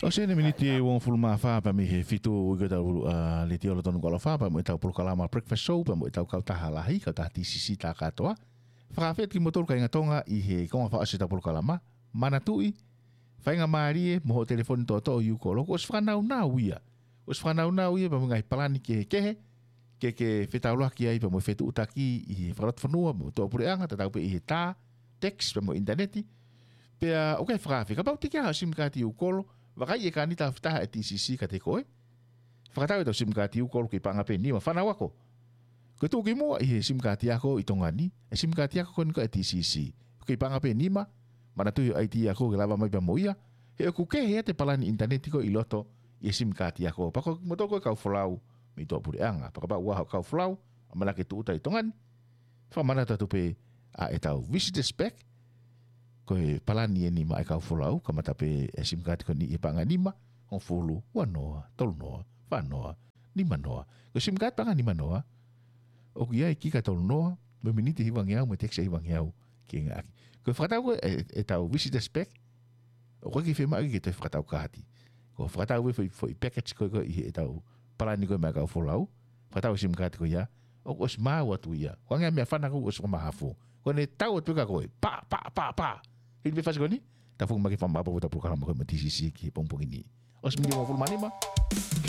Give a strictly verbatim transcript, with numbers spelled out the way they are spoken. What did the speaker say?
ʻOsi eni miniti ʻe uongofulu mā fā pea mei he fitu ʻi ko ʻetau, ā, letiō lotonu ko ʻAlofa, pea mo ʻetau polokalama Breakfast Show, pea mo ʻetau kautaha lahi, kautaha T C C tā kātoa. Fakafetaʻi kimoutolu kāinga Tonga ʻi he konga fakaʻosi ʻetau polokalama. Manatuʻi, faingamālie mo hoʻo telefoni toʻotoʻo ʻi ʻū kolo, kuo ʻosi fakanaunau ia. Kuo ʻosi fakanaunau ia, pea mo e ngaahi palani kehekehe, ke ke fetaulaki ai, pea mo e fetuʻutaki ʻi he fakalotofonua, mo e tuʻapuleʻanga, tatau pē ʻi he tā, text, pea mo e ʻinitaneti. Pea ʻoku ʻikai fakaafeʻi, kapau ʻoku teʻeki ai haʻo SIM card ʻi ʻū kolo, vakai e kānita ʻe taha ʻa e T C C kiate koe. Fakatau ʻetau SIM card ʻi ʻū kolo ʻoku kei paʻanga pē ʻe nima, fānau ako. Ko e tuʻukimuʻa ʻi he SIM card ako ʻi Tonga ni, e SIM card ako ko eni ko e T C C. ʻOku kei paʻanga pē ʻe nima, manatuʻi ʻa e I D ako ke lava mai pea mo ia, he ʻoku kehe ʻa e palani ʻinitaneti ko ē ʻi loto ʻi he SIM card ako. Pea ko kimoutolu ko e kau folau mei tuʻapuleʻanga, pea kapau ʻoku ʻi ai haʻo kau folau, ʻamanaki ke tūʻuta ʻi Tonga ni, fakamanatu atu pē ʻa ʻetau visitors pack, ko e palani eni maʻa e kau folau, kamata pē e SIM card ko eni ʻi he paʻanga ʻe nima, hongofulu, ua noa, tolu noa, fā noa, nima noa. Ko e SIM card paʻanga ʻe nima noa, ʻoku ʻi ai e kika ʻe tolu noa, mo e miniti ʻe hivangeau, mo e text ʻe hivangeau ke ngāueʻaki. Ko e fakatau ko ē e, ʻetau visitors pack, ʻoku ʻikai ke fiemaʻu ke toe fakatau kaati. Ko e fakatau e foʻi, foʻi package ko ē ko ē ʻi heʻetau palani ko ē maʻa e kau folau, fakatau e SIM card ko ia, ʻoku ʻosi maau atu ia. Ko e ngaahi meʻafana ko ē ʻoku ʻosi fakamahafu. Ko ʻene tau atu pē kia koe, pā, pā, pā, pā. Hili pē fasi ko eni, tau foki mai ke fakamāʻopoʻopo ʻetau polokalama ko ē mo e T C C ki he pongipongi ni. ʻOsi miniti ʻe uongofulu mā nima.